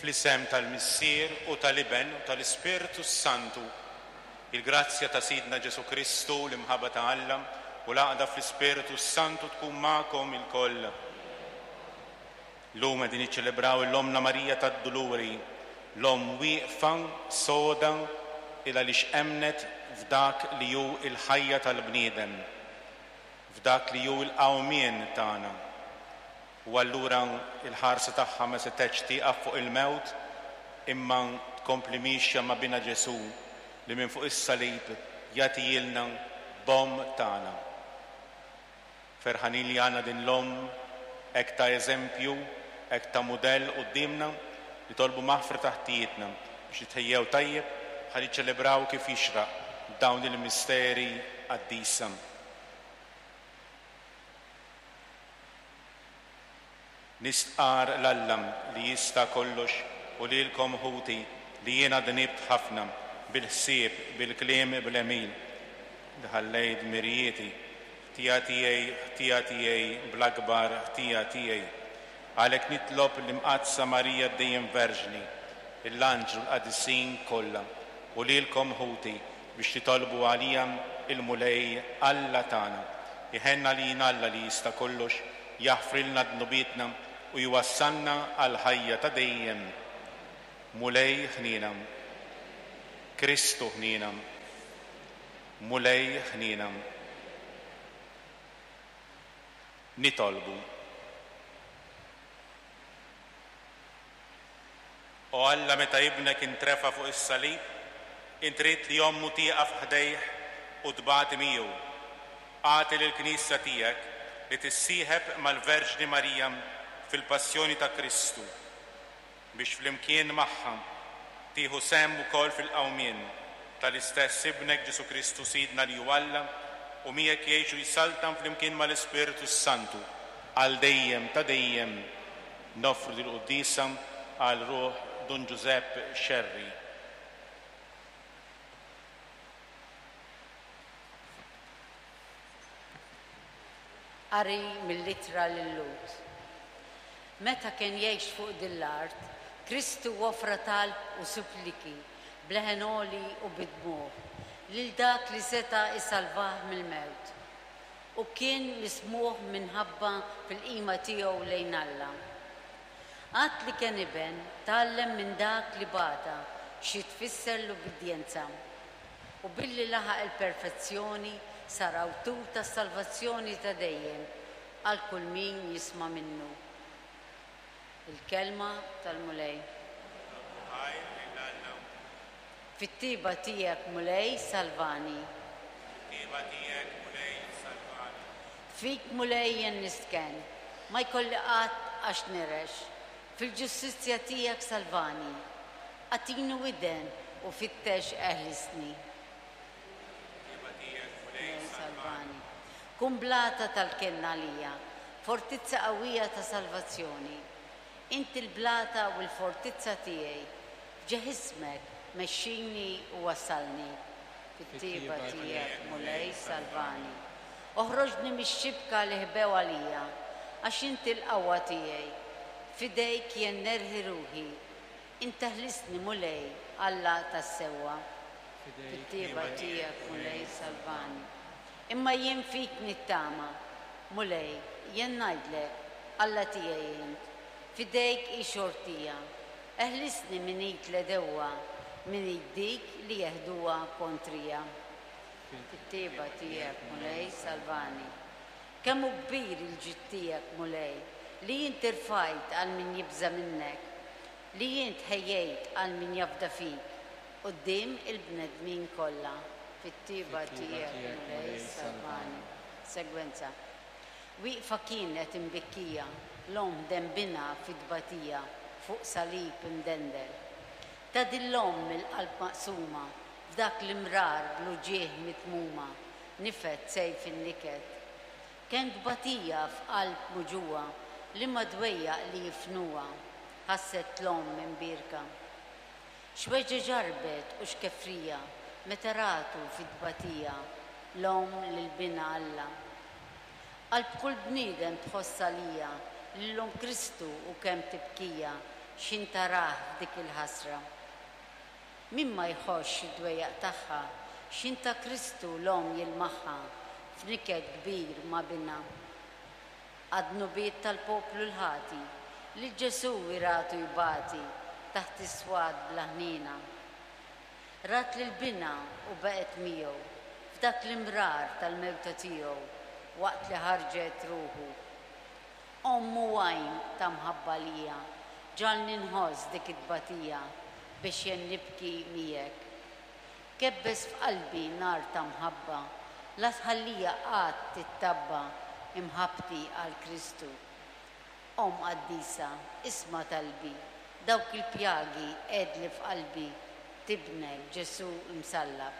Fl-isem tal-Missier u tal-Iben u tal-Ispirtu s-Santu, il-grazzja ta' Sidna Ġesù Kristu, l-imħabba ta' Alla u l-għaqda fl-Ispirtu s-Santu tkun magħkom ilkoll. Llum qegħdin niċċelebraw 'l Ommna Marija tad-Duluri, l-Omm wieqfa, soda, il għaliex emmnet f'dak li hu l-ħajja tal-bniedem, f'dak li hu l-qawmien tagħna. U allura l-ħarsa tagħha ma setgħetx tieqaf fuq il-mewt imma tkompli miexja ma' Binha Ġesù li minn fuq is-salib jagħtihielna b'Omm tagħna. Ferħanin li għandna din l-Omm hekk ta' eżempju, hekk ta' mudell quddiemna, nitolbu maħfra ta' ħtijietna biex nitħejjew tajjeb ħalli niċċelebraw kif jixraq dawn il-misteri qaddisa. Nistqarr 'l Alla li jista' kollox u lilkom ħuti li jiena dnibt ħafna bil-ħsieb, bil-kliem, bl-għemil, li ħallejt dmirijieti, ħtija tiegħi, ħtija tiegħi, bl-akbar ħtija tiegħi. Għalhekk nitlob l-Imqaddsa Marija dejjem Verġni, l-anġlu l-qadisin kollha u lilkom ħuti biex titolbu għalija il-Mulej Alla tagħna. Iħenn għalina Alla li jista' kollox, jaħfrilna dnubietna u jwassalna għall-ħajja ta' dejjem. Mulej ħniena. Kristu ħniena. Mulej ħniena. Nitolbu. O Alla, meta Ibnek intrefa' fuq is-salib, int ridt li ommu tieqaf ħdejh u tbati miegħu. Agħti lill-Knisja tiegħek li tissieħeb mal-Verġni Marija fil-passjoni ta' Kristu, biex flimkien magħha tieħu sehem ukoll fil-qawmien tal-istess Ibnek Ġesù Kristu Sidna li hu Alla u miegħek jgħix u jsaltan flimkien mal-Ispirtu s-Santu għal dejjem ta' dejjem. Noffru dil-quddiesa għal ruħ Dun Ġużepp Scerri. Qari mill-Ittra lil-Lhud. Meta kien jgħix fuq din l-art, Kristu offra talb u suppliki b'leħen għoli u bid-dmugħ lil dak li seta' jsalvah mill-mewt. U kien mismugħ minħabba fil-qima tiegħu lejn Alla. Għad li kien iben, tgħallem minn dak li bata xi tfisser l-ubbidjenza. U billi laħaq il-perfezzjoni, sar awtur tas-salvazzjoni ta' dejjem għal kull min jisma' minnu. Il-Kelma tal-Mulej. Nagħtu ħajr lil Alla. Fit-tjieba tiegħek, Mulej, salvani. Fit-tjieba tiegħek, Mulej, salvani. Fik, Mulej, jien nistkenn, ma jkolli qatt għax nirex. Fil-ġustizzja tiegħek salvani. Agħtini widen u fittex eħlisni. Fit-tjieba tiegħek, Mulej, salvani. Kun blata tal-kenn għalija, fortizza qawwija ta' salvazzjoni. Int il-blata u l-fortizza tiegħi, f'ġieħ ismek mexxini u wassalni. Fit-tjieba tiegħek, Mulej, salvani. Oħroġni mix-xibka li ħbew għalija, għax int il-qawwa tiegħi. F'idejk jien nerħi ruħi. Int teħlisni, Mulej, Alla tas-sewwa. Fit-tjieba tiegħek, Mulej, salvani. Imma jien fik nittama, Mulej, jien ngħidlek, Alla tiegħi int. F'idejk hi xortija. Eħlisni minn id l-għedewwa, minn id dik li jeħduha kontrija. Fit-tjieba tiegħek, Mulej, salvani. Kemm hu kbir il-ġid tiegħek, Mulej, li int irfajt għal min jibża' minnek, li int ħejjejt għal min jafda fik, quddiem il-bnedmin kollha. Fit-tjieba tiegħek, Mulej, salvani. Segwenza. Wieqfa kienet imbikkija l-omm demm binha fit-tbatija fuq salib imdendel. Ta' din l-omm il-qalb maqsuma f'dak l-imrar bl-uġigħ mitmuma nifed sejf in-niket. Kemm tbatija f'qalb muġugħa liema dwejjaq li jifnuha ħasset l-omm imbierka. X'weġgħa ġarrbet u x'kefrija meta ratu fit-tbatija l-omm lil Binha Alla. Qalb kull bniedem tħoss għalija lil Omm Kristu u kemm tibkija. x'ħin tarah f'dik il-ħasra. Min ma jħossx id-dwejjaq tagħha x'ħin ta' Kristu l-Omm jilmaħha f'niket kbir ma' Binha. Għad-dnubiet tal-poplu l-ħati, lil Ġesù hi ratu jbati taħt is-swat bla ħniena. Rat lil Binha u baqgħet miegħu f'dak l-imrar tal-mewta tiegħu waqt li ħarġet ruħu. Omm u għajn ta' mħabba għalija, ġagħalni nħoss dik it-tbatija biex jien nibki miegħek. Kebbes f'qalbi nar ta' mħabba, la tħallija qatt tittabba imħabbti għal Kristu. Omm qaddisa, isma' talbi, dawk il-pjagi għedli f'qalbi t'Ibnek Ġesù msallab.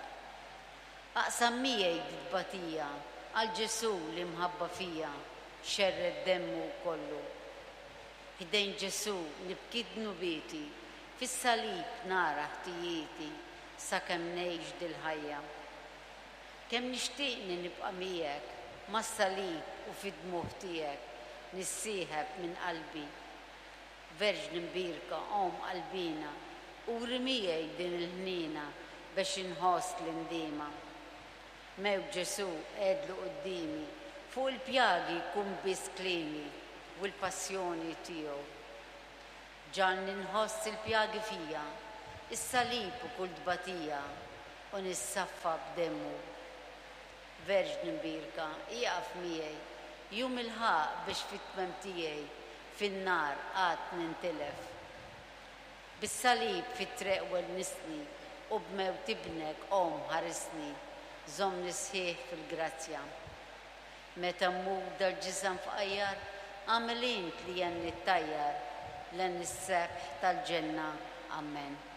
Aqsam miegħi dit-tbatija għal Ġesù li mħabba fija xerred demmu kollu. Ħdejn Ġesù nibki dnubieti, fis-salib nara ħtijieti sakemm ngħix dil-ħajja. Kemm nixtieqni nibqa' miegħek mas-salib u fid-dmugħ tiegħek nissieħeb minn qalbi. Verġni mbierka Omm qalbina, uri miegħi din il-ħniena bex inħoss l-indiema. Mewt Ġesù għedlu quddiemi, fuq il-pjagi jkun biss kliemi u l-passjoni tiegħu. Ġagħalni nħoss il-pjagi fija, is-salib u kull tbatija, u nissaffa b'demmu. Verġni mbierka, ieqaf miegħi, jum il-ħaqq biex fit-tmiem tiegħi fin-nar qatt nintilef. Bis-salib fit-treq wennisni u b'mewt Ibnek, Omm, ħarisni, żommni sħiħ fil-grazzja. Meta mmut dal-ġisem fqajjar, agħmel int li jien nittajjar len is-sebħ tal-ġenna. Ammen.